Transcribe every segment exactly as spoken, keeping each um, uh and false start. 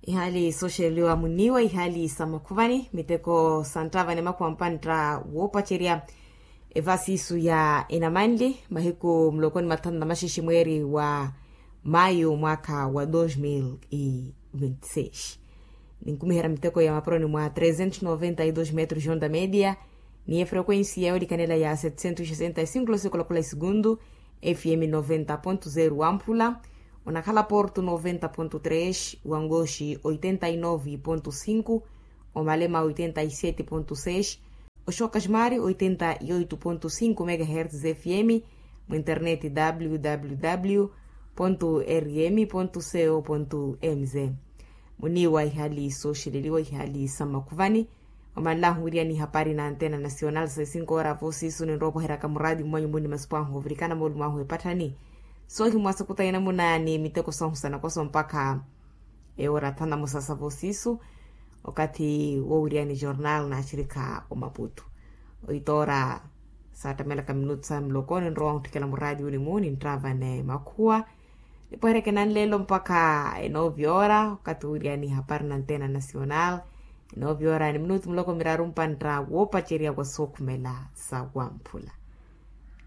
Ihaali sooxereliwa muniiwa ihaali sa makhuvani miteko sa nttavani makhuwa mpantta woopacerya. Evasiisu ya enamanli mahiku mulokoni mathanu na maxexe mweeri wa mayu mwaakha wa dos mil e vinte seis. Ninkumiherya miteko ya maporoni mwa trezentos noventa e dos metros onda media, ni efrequensi ya olikanela ya setecentos sesenta e cinco losikola kula esegundu, fm noventa ponto zero wamphula, onakhala porto noventa ponto tres, wangoxi oitenta e nove ponto cinco, omalema oitenta e sete ponto seis, oxokasmari oitenta e oito ponto cinco megahertz fm, mu internet www rm co mz. Muniiwa ihaali sooxeleliwa ihaali sa makhuvani. Omanlahu wiriani hapari na antena nacional sa esinkoora voosiisu ninrowa opoheryaka muraadi mwanyu muni masipo ahu ovirikana moolumo ahu epatthani. Soohimwa sakuta inamuna ni miteko sahu sanakoso mpakha eora thanamosa sa voosiisu. Okathi wowiriani jornal na axirikha omaputu oitoora, saattamelaka minutu sa muloko ninrowa ohutthikela muraadi unimu nintravane makhuwa. Nipoheryeke nanleelo mpakha enovi ora okathi wiriani hapari na antena nacional. Enovi ora ni minutu muloko miraru mpantta woopacerya wa sookhumela sa wamphula.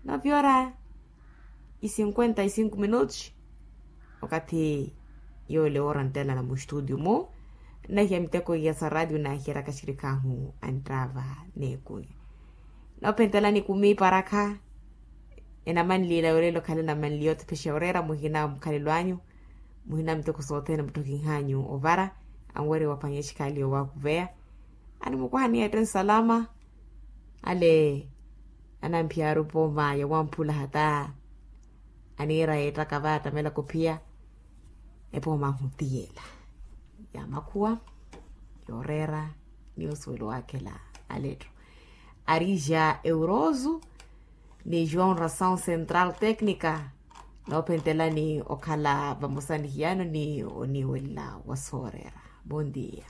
Enovi ora e cinquenta e cinco minutos. Okathi yoole ora nttelana mustutio mu nahiya miteko iya sa ratio nahiyeryaka axirikhahu anttava n'ekunya. Noophentelani kumi parakha enamanliila yoolelo khale enamanliya othiphexa oreera muhina mukhalelo anyu. Muhina miteko sothene mutthokihanyu ovara anwerya waphwanya exikhaali yoowakuveya. Animukwahani ette nsalama ale anamphiyaaru pooma yawamphula hata aniira yeettaka vaattamela kophiya. Epooma ahutiyela ya makhuwa yooreera ni osuwelo waakhela aletthu. Arija euroso ni joão ração central técnica noophentelani okhala vamosa nihiyano ni oniiwelela wa sooreera. Bon dia.